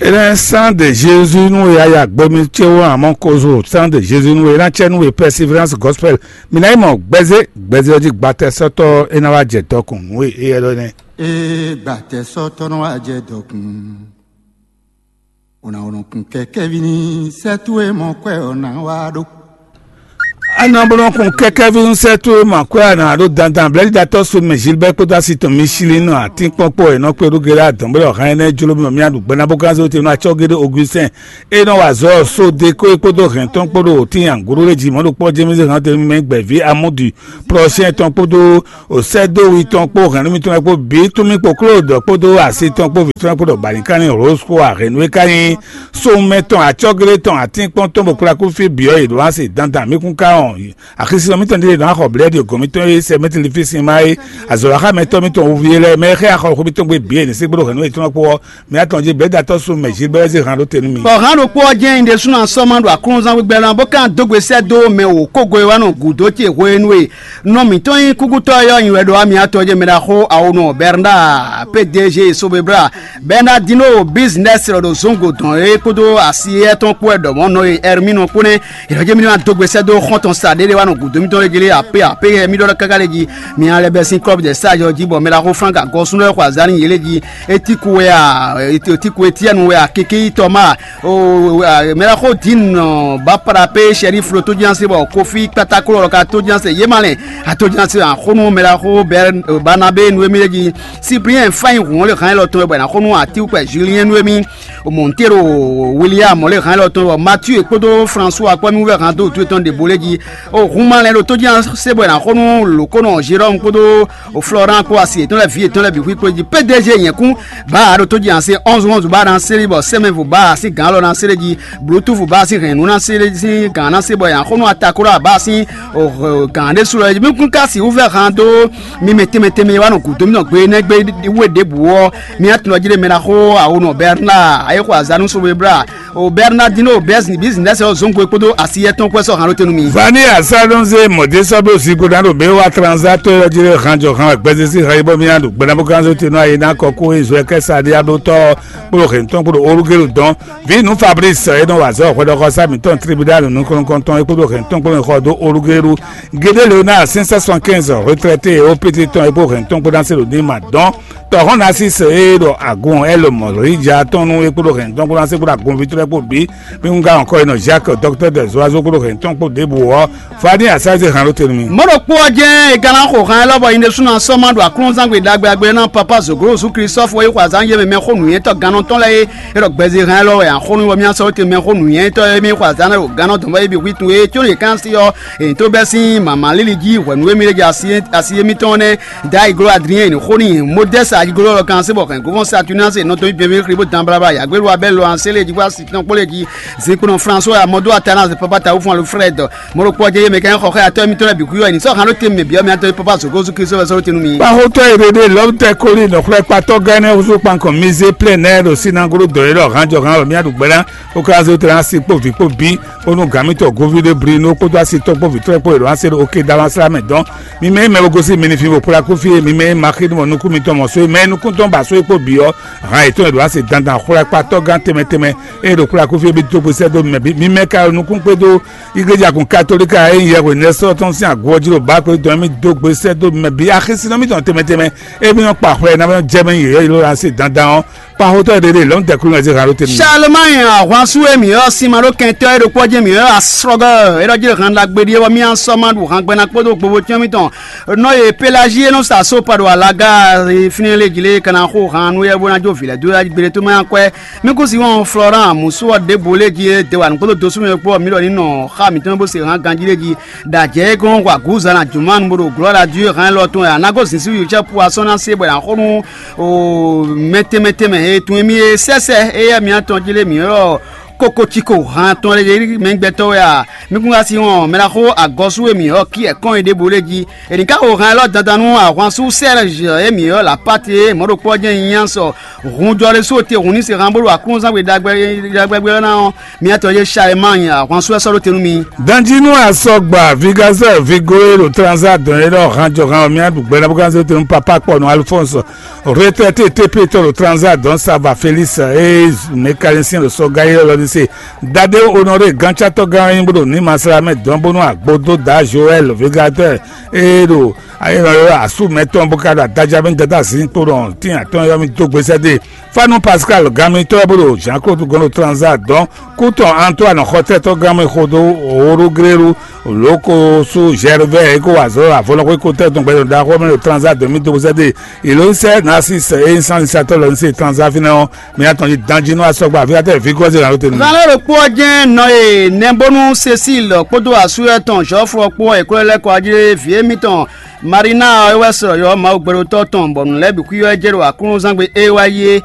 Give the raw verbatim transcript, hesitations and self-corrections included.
Ena sang de Jésus nú we aya gbemi ce wo amɔ kozo sang de Jésus nú we ena cɛ nú we perseverance gospel. Mina yi mɔ gbɛzé gbɛzé ɔdzi gbatɛ sɔtɔ ena wa jɛ dɔkun nú we eyɛ lɔ nɛ. Ee, gbatɛ sɔtɔ nɔ wa jɛ dɔkun. Ona onɔ kun kɛkɛvi ni sɛ towe mɔ kwɛ ɔ na wa ɖo. Anɔ bó nɔ kun kɛkɛvi nú sɛ towe mɔ kwɛ ɔ na ɖo dandan blɛ́ɖiɖatɔ́ so mɛ Gilbert kpódó asi tɔn mi sili nɔ atínkpɔ́n kpó ɔ́ nɔ kpé ɖó gɛlɛ adɔn bó ɖɔ hɛn ɛnɛ jló mɔ mía ɖu gbɛ́ ná bó gán zé te nɔ acɔ́ géɖé Augustin e nɔ wa azɔ̌ sóde kó e kpódó hɛn tɔn kpó ɖo tín angúɖó lé jí mɔ̌ ɖo kpɔ́ jémízé hɛn te mɛ gbɛ̌ví amúdi prɔchɛn tɔn kpódó osɛ́dówi tɔn kpó hɛ̌nnu mitɔn lɛ́ɛ kpó bǐ tún mì kpó Klódɔ kpódó asi tɔn kpó vǐ tɔn lɛ́ɛ kpó ɖɔ bǎlínkánní Rose kpó ahɛ̌nnu e ka nyí sówúnmɛ tɔn acɔ́glé tɔn atínkpɔ́n tɔn bó kplá kú fí bǐ ɔ́ yě ɖó asi dandan mǐ kún ka wɔn axisínɔ mitɔn ɖíe nɔ axɔ blɛ́ɖi gɔ̌n mitɔn e sɛ mɛtili fí sin má é azɔ̌waxámɛtɔ́ mitɔn wuví é lɛ́ɛ mɛ e xɛ axɔxó mitɔn gbe bǐ e ní sí gbóɖó hɛ̌nnu yětɔn lɛ́ɛ kpó ɔ́, mǐ atɔn jí blɛ̌datɔ́ sú mɛ Gilbert zé han ɖó te nú mi. Bɔ hǎn ɖokpó ɔ́ jɛ́n nyi ɖésúnɔ sɔ́ ma ɖo aklúnɔzán gbígbɛ́ ná bó ka dó gbe sɛ́ dó mɛ wǒ kógo e wá nɔ gǔdo ce hwenu e nɔ mǐtɔn nyí kúkútɔ́ e ɔ́ nyi wɛ ɖo wá mǐ atɔn jɛ mɛ ɖaxó awonɔ Bernard P D G Sobebra Bernardino business lɔ ɖo zɔngo dɔn é kpódó asi éyɛ́ tɔn kpó wɛ ɖɔ mɔ̌ nɔ e Hermino kpó nɛ́. Yɛlɛ jɛ mi ma dó gbe sɛ́ dó xɔ́ntɔn sa ɖé ɖé wá nɔ gǔdo mitɔn lé jí lé apé apé yɛ mi ɖɔ káká lé jí. Mi alɛ bɛ sín club de sage ɔ́ jí bɔ mɛ ɖaxó Frank agɔsún lɛ́ɛ xɔ azǎn nyi yě lé jí. Etiku wɛ a etiku Etienne wɛ a keke yi tɔma o mɛ ɖaxó Dean bapara pé sɛri flo tójúnase bɔ kofi kpataklo ɔlɔ ka tójúnase yé ma lɛ atójúnase axónú mɛ ɖaxó Bernabé nu émí lé jí. Cyprien fáin hǔn lé hán élɔ́ tɔn wɛ bɔ è nǎ xó nú atíwúkpɛ Julien nu émí. Montero William lé hán élɔ́ tɔn wɛ Mathieu kpódó François kpɔ́ mì wú vɛ hán dó wǔtu yětɔn ɖěbǔ lé jí. O hun ma lɛ́ ɖo tó jí se bɔ è nǎ xó nú lǒkónɔ Jérôme kpódó Florent kpó asi yětɔn lɛ́ɛ vǐ yětɔn lɛ́ɛ bǐ xwíxwé jí. P D G nyɛ̌kún bǎ ɖo tó jí ase onze onze bá ná sélé bɔ sɛmɛvo bá sín gǎn lɔ ná sélé jí. Bluetooth bá sín hɛ̌nnu ná sélé sín gǎn ná sé bɔ è nǎ xó nú atakóra bá sín gǎn ɖésú lɔ jí. Mí kún ka sixú vɛ hán dó mi mɛ tɛnmɛ tɛnmɛ e wá nɔ gǔdo mì nɔ gbe énɛ́ gbe wé ɖěbǔ ɔ́, mi atun ɔ́ jí ɖe mɛ ná xó awo nɔ Bernard ayé xo azanu so bla o Bernardino bísínɛsì ɔ́ zɔ́n gbe kpódó asi yɛtɔn kpɛ́ sɔ́ hǎn ɖó tenu mi. Vani asadonze mɔdé sɔ́ bló zigo ná ɖo bě wá tranzatɔ́ ɔ́ jí ɖe hánjɔ hán gbɛzesi hán yi bɔ mí ná ɖo gbɛ́nàbúkánzó tenu ayi ná kɔ kó ezɔ kɛ́ sa ɖé aɖótɔ́ kpódó hɛ̌ntɔn kpódó olugélu dɔn. Vǐ nú Fabrice e nɔ wa azɔ̌ hwɛɖɔxɔsá mǐtɔn tribunal nukɔntɔn e kpódó hɛ̌ntɔn kpódó xɔ dó olugélu. Gédé Léonard cinq cent soixante-quinze retraité e ó pété tɔn e kpó hɛ̌ntɔn kpódó ná se ɖo ní ma dɔn. Tɔhɔn Narcisse e ɖɔ agun ɛlɔ mɔlɔyija tɔn nú é kpódó hɛn tɔn kpódó ná se kpódó agunví tɔn lɛ́ɛ kpó bǐ. Mí wún gán ɔkɔ e nɔ Jacques, docteur des oiseaux kpódó hɛn tɔn kpó ɖěbǔ ɔ́, Fani Asaze hán ɖó te nú mì. Mɔ̌ ɖokpó ɔ́ jɛ́n è ka ná xo han élɔ́ bɔ nyi ɖésúnɔ sɔ́ ma ɖo aklúnɔzán gbe ɖagbe agbe ná Papa Zoglo Zú Klísɔ́fu e xo azǎn yé mɛ mɛxó nǔnywɛ́tɔ́ gannɔtɔn lɛ́ɛ é. É ɖɔ gbɛzí han élɔ́ wɛ axɔ́nú bɔ mì ná sɔ́ te mɛxó nǔnywɛ́tɔ́ e mì xo azǎn lɛ́ɛ ɖo gannɔtɔn bɔ é bǐ xwí tun é có ɖě kán sí ɔ́, è nǐ tó bɛ́ sín mǎmá líli jí hwɛ̌nu e mì ɖe jɛ asi asi e mítɔn nɛ́. Dayi gló Adrien ní xó n'i Modɛ́si ayigló lɔ kan se bɔ hɛn gɔ́fɔ́n Saturninasi nɔ dɔn nyi bɛnbɛn xri bó dan blabla yǎgbélu Abɛ́lu lɔ an sélé jí bó asi tɔn kpó lé jí. Zinkpo nɔ François Mɔdó Atana Papa Tawufɔn alo Frɛd mɔɖokpó ɔ́ jɛ yé mɛ kɛn xɔ xɛ atɔ́ mitɔn lɛ́ɛ bǐ kú yɔ ní sɔ́ han ɖó te mɛ bǐ ɔ́ mɛ atɔ́ Papa Zogo Zú Kristu wɛ sɔ́ ɖó te nú mi. Kpaxotɔ́ e ɖe ɖe lɔmtɛ kóli nɔxlɛ́kpatɔ́ gɛ́nɛ́ húzú kpankɔn mizé plɛ́nɛ́ ɖo sínáglo dɔ̌ e ɖɔ hánjɔhán wɛ mía ɖu gbɛ́ ná. Ó ka zé tɛn asi kpó vǐ kpó bí ó nú gǎn mítɔn Govíɖé Brinó kpódó asitɔ́ kpó vǐtrɔ́ kpó e ɖo asé ɖo oke Damasla mɛ dɔn. Mi mɛ e mɛ bo gosín mi ní fi bo kplá kú fí e, mi mɛ e ma xí nú mɔ nukún mitɔn mɔ só e mɛ e nukún tɔn ba só e kpó bǐ ɔ́, hǎn yětɔn e ɖo así dandan xwlɛ́kpatɔ́ gán tɛnmɛ tɛnmɛ e ɖo kplá kú fí e bí dó gbe sɛ́ dó mɛ bǐ. Mi mɛ ka ɖo nukún kpé dó igleja kun katolíka e nyí yɛhweɖɛ́sɔ́ tɔn sín agun ɔ́ jí ɖo bǎ kpé dɔn mì dó gbe sɛ́ dó mɛ bǐ axisínɔ mítɔn tɛnmɛ tɛnmɛ e mí nɔ kpa xwlɛ ná jɛ mɛ nyǐ yɔ́yí ló ná se dandan ɔ́. Kpaxotɔ́ ɖé ɖé lɔ̌n tɛkúnú ɛ zé hǎn ɖó te nú mì. Charlemagne ahwansú e mǐ ɔ́ sin ma ɖó kɛntɔ́ e ɖokpó ɔ́ jɛ́n mǐ ɔ́ asrɔ́gɔ́ é ɖɔ jí ɖɔ han ɖagbe ɖíe bɔ mì á sɔ́ ma ɖu han gbɛ́ ná kpódó gbogbo cyɔ́n mítɔn. Nɔ e Pelagie nɔ sa só pa ɖo alaga fínɛ́ lé jí lé ka ná xo han nú yɛ bó ná jó vǐ lɛ́ɛ dó yá gbeɖé tó mɛ akwɛ́. Mí kún si wɔn Florent Musu ɔ́ ɖěbǔ lé jí é de wa nǔ kpódó dosúmɛ kpó ɔ́, mǐ ɖɔ ní nɔ xá mǐtɔn bó se hán ganjí lé jí. Ɖajɛ e gɔ́n hwa gǔzan ná jǔmán bó ɖo glɔ́ ɖa jú hán élɔ́ tɔn wɛ a nǎ gosín sí yǒcɛ́ pu asɔ́ ná se bɔ è nǎ xo nú o mɛtɛnmɛtɛnmɛ e tunwun émí e sɛ́sɛ éyɛ́ mǐtɔn jí lé mǐ ylɔ́ Koko ciko han tɔn lɛ yě mɛ gbɛtɔ́ wɛ a? Mi kún ka si wɔn mɛ ná xo agɔsú e mǐ ɔ́ kí ɛkɔn e ɖěbǔ lé jí. È nǐ ká xo han élɔ́ dandan nú ahwansú Sɛ́rɛzhi e mǐ ɔ́ Lapáte mɔ̌ ɖokpó ɔ́ jɛ́n nyí nyanya sɔ. Hun jɔ ɖésú te hun ní se han bó ɖo aklúnzán gbe ɖagbɛgbɛ ɔ́ ná ɔ́, miatɔ́ yé Salemaani ahwansú ɛ sɔ́ ɖó te nú mi. Danjínú asɔgba Vigazɛr Vigoe ɖo Transa dɔn e ɖɔ han jɔ han ɔ́, mía ɖu gbɛ ná bó gán zé te nú papá kpɔ nú Alphonse retraité T P tɔn ɖo Transa dɔn Sava Félix e mécanicien ɖo sɔga e lɔ ní se. Dade Honoré gántsatɔ́gán e nyí bó ɖo ní masla mɛ dɔn bónú agbo dó da Joël Vigatɛr e ɖo asú mɛtɔn bó ka ɖo adaja mɛ dada zǐn kpo ɖɔ tín atɔn yɔ mì dó gbesɛ dé. Fanu Pascal ganmitɔ́ bó ɖo Jean Claude gɔn ɖo Transa dɔn kútɔn Antoine xɔtɛ́tɔ́ gánmɛ xodó Orogrélu Lokosu Gervais e ko wa azɔ̌ ɖo avɔlɔxwé ko tɛ́ tɔn gbɛtɔ́ ɖaxó mɛ ɖo Transa dɔn mì dó gbesɛ dé. Ìlónyísɛ Narcisse e nyí sánnisatɔ́ lɔ ní se Transa fínɛ́ ɔ́, mɛ atɔn jí danjí nú asɔgba aví atɛ vǐ gɔ́zé ná ɖó te nú. Zan lɛ́ɛ ɖokpó ɔ́ jɛ́n nɔ e Nɛbónú Cécile kpódó asú etɔn Zɔ́fu ɔ́ kpó ɔ́, è ko lɛ́ lɛ́ kɔ wá jlé vǐ émítɔn Marina ɔ́ é wɛ sɔ yɔ̌ Mawu gbɛɖotɔ́ tɔn, bɔ nǔ lɛ́ɛ bǐ xwíxwɛ́ jɛ ɖo aklúnɔzán gbe é wá yi é.